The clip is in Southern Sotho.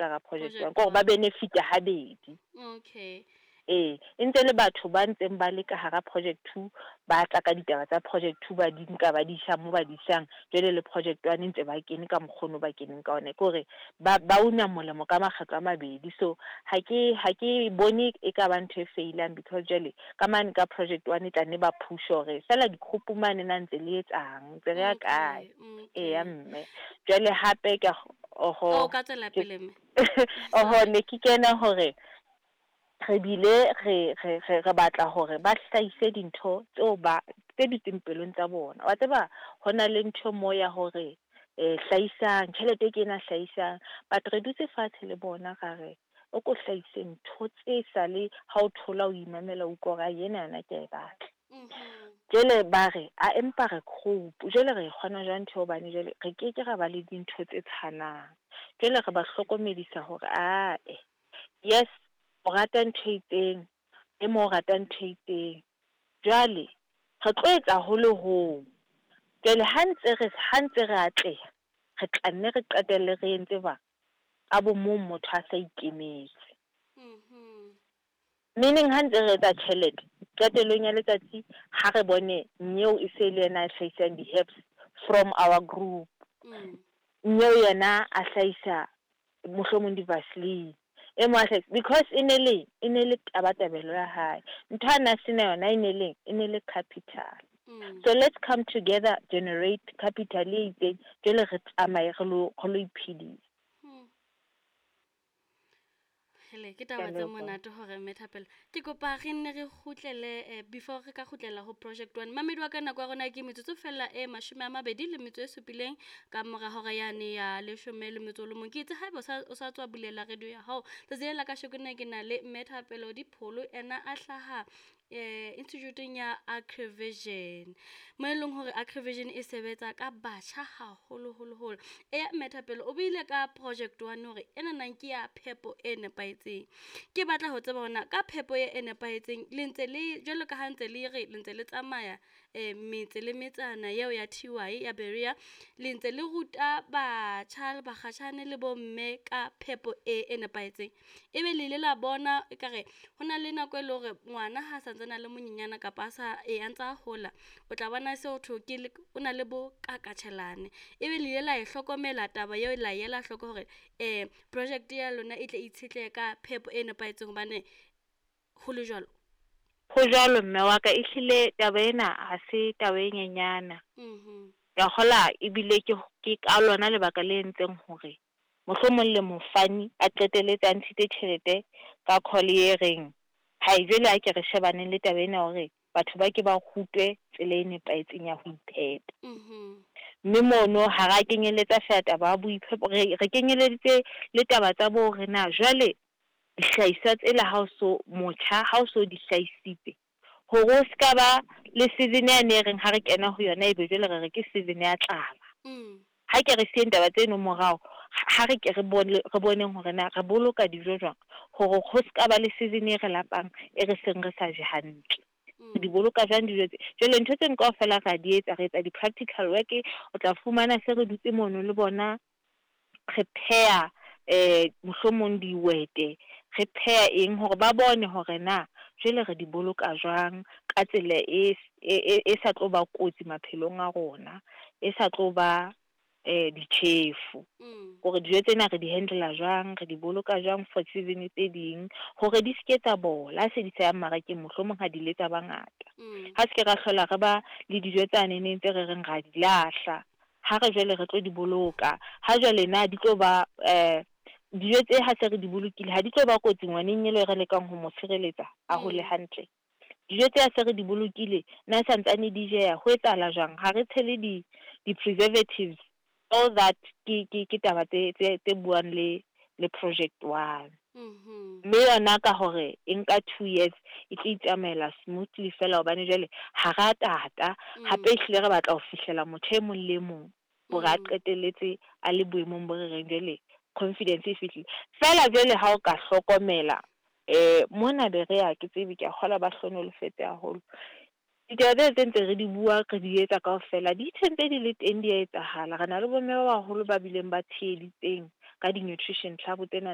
Hara project one, ke hore ba benefit-a habedi. Ee, e ntse le batho ba ntseng ba le ka hara project two, ba tla ka ditaba tsa project two, ba di nka ba di isa mo ba di isang. Jwale le project one ntse ba kene ka mokgwa ono ba keneng ka ona. Ke hore ba ba una molemo ka makgetlo a mabedi. So ha ke ha ke bone e ka ba ntho e failang because jwale ka mane ka project one e tla nne ba push hore feela di-group mane na ntse le etsang, ntse re ya kae. Eya mme. Jwale hape ke oho. O ka tswela pele mme. Oho, ne ke kena hore re bile re re re re batla hore ba hlahise dintho tseo ba tse dutseng pelong tsa bona. Wa tseba ho na le ntho mo ya hore hlahisang tjhelete ke ena, hlahisang, but re dutse fatshe le bona ra re o ko hlahise ntho tse sale ha o thola o imamela, o utlwa hore ena yona ke a e batla. Jwale ba re a empa re group, jwale re kgona jwang ntho hobane jwale re ke ke ra ba le dintho tse tshwanang. Jwale re ba hlokomedisa hore ae, yes, o rata ntho e itseng, e mong o rata ntho e itseng. Jwale re tlo etsa ho le hong. Jwale ha ntse re ha ntse re atleha, re tla nne re qetelle re entse jwang? Ka bo mong motho a sa ikemetse. Meaning ha ntse re etsa tjhelete, qetellong ya letsatsi ha re bone nyeo e se le yena a hlahisang di-herbs from our group. Nyeo yena a hlahisa mohlomong di-vaseline. E mong a hlahisa because e ne le e ne le tabatabelo ya hae. Ntho a na sena yona e ne leng, e ne le capital. So let's come together, generate capital e itseng, jwale re tsamaye re lo re lo iphedisa. Hele, ke taba tse monate hore mme Thapelo. Ke kopa re nne re kgutlele before re ka kgutlela ho project one. Mamedi wa ka, nako ya rona ke metsotso fela e 27 ka mora hora yane ya 11. Ke itse haeba o sa tswa bulela radio ya hao. Tsatsi lena la kasheko nna ke na le mme Thapelo Dipholo, ena a hlaha institute-eng ya Agrivision. Mo e leng hore Agrivision e sebetsa ka batjha haholo holo holo. Eya mme Thapelo, o buile ka project one hore ena nang ke ya phepo e nepahetseng. Ke batla ho tseba hore na ka phepo e nepahetseng le ntse le jwalo ka ha ntse le re le ntse le tsamaya metse le metsana eo ya TY ya Berea, le ntse le ruta batjha le bakgatjhane le bomme ka phepo e e nepahetseng. Ebe le ile la bona ekare ho na le nako e leng hore ngwana ha sa ntsane a le monyenyana kapa a sa e a ntsa hola, o tla bona se ho thwe ke le o na le bo kakatjhelane. Ebe le ile la e hlokomela taba eo, la ela hloko hore project ya lona e tle itshetlehe ka phepo e nepahetseng hobane ho le jwalo? Ho jwalo mme wa ka, ehlile taba ena ha se taba e nyenyana. Ke a kgola ebile ke ke ka lona lebaka le entseng hore mohlomong le mofani a qetelletse a ntshitse tjhelete ka call e reng, hai jwale ha ke re shebaneng le taba ena hore batho ba ke ba rutwe tsela e nepahetseng ya ho iphepa. Mme mono ha ra kenyeletsa feela taba ya boiphepo, re re kenyeleditse le taba tsa bo hore na jwale dihlahiswa tsela ha o so motjha, ha o so di hlahisitse, hore o ska ba le season yane e reng ha re kena ho yona ebe jwale re re ke season ya tlala. Ha ke re siyeng taba tseno morao, ha re ke re bone re boneng hore na re boloka dijo jwang hore ho ska ba le season e re lapang e re seng re sa je hantle. Re di boloka jwang dijo tse? Jwale ntho tseno kaofela ra di etsa, re etsa di-practical work, o tla fumana se re dutse mono le bona, re pheha mohlomong dihwete, re pheha eng hore ba bone hore na jwale re di boloka jwang ka tsela e e sa tlo ba kotsi maphelong a rona, e sa tlo ba ditjhefu. Hore dijo tsena re di handle-a jwang, re di boloka jwang for season tse ding, hore di ske tsa bola ha se di sa ya mmarakeng, mohlomong ha di le tsa bangata. Ha se ke ra hlola re ba le dijo tsane neng tse re reng ra di lahla, ha re jwale re tlo di boloka. Ha jwale na di tlo ba dijo tse ha se re di bolokile ha di tlo ba kotsi ngwaneng ele re lekang ho mo tshireletsa a hole hantle. Dijo tse ha se re di bolokile na santsane di jeha, ho etsahala jwang? Ha re tshele di di-preservatives, all that ke ke ke taba tse tse tse buang le le project one. Mme yona ka hore e nka 2 years e tlo itsamaela smoothly fela hobane jwale ha ra tata, hape ehlile re batla ho fihlela motho e mong le mong hore a qetelletse a le boemong bo re reng jwale confidence e fihlile. Feela jwale ha o ka hlokomela mona Berea, ke tsebe ke a kgolwa ba hlohonolofetse haholo. Ditaba tsena tse ntse re di bua re di etsa kaofela di ntse di le teng, di a etsahala. Re na le bomme ba baholo ba bileng ba tsheheditseng ka di-nutrition club tsena.